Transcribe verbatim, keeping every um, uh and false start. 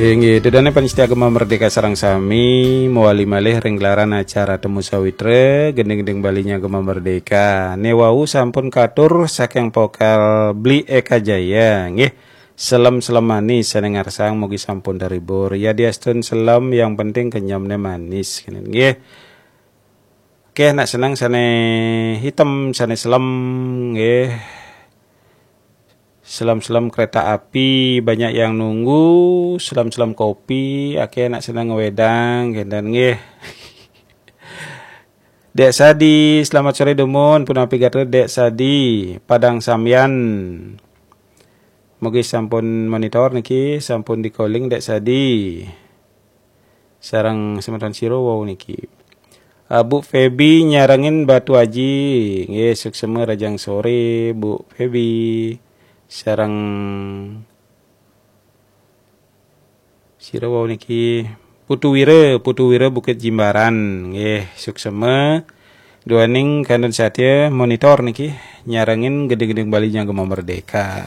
Inggih, ida dané pamiarsa Gema Merdeka sareng sami, mawali malih ring gelaran acara Temu Sawitra, gending-gending Baliné Gema Merdeka. Né wau sampun katur saking vokal Bli Eka Jaya, nggih. Selem-selem manis sané ngarsang mugi sampun terhibur. Yadiastun selem, yang penting kenyemné manis, nggih. Oke, nak seneng sané hitam, sané selem, nggih. Selem-selem kereta api, banyak yang nunggu, selem-selem kopi, akeh nak seneng ngewedang, kénten nggih. Dek Sadi, selamat sore Dumun, punapi gatra Dek Sadi, Padang Sambian. Mugi sampun monitor niki, sampun di-calling Dek Sadi. Sareng semeton sira wau niki. Ah, Bu Feby nyarengin Batu Aji. Nggih, suksma rahajeng sore, Bu Feby. Sareng sira wau niki. Putu Wira, Putu Wira Bukit Jimbaran. Nggih, suksma. Duaning kantun satya monitor niki nyarengin gending-gending Baliné Gema Merdeka.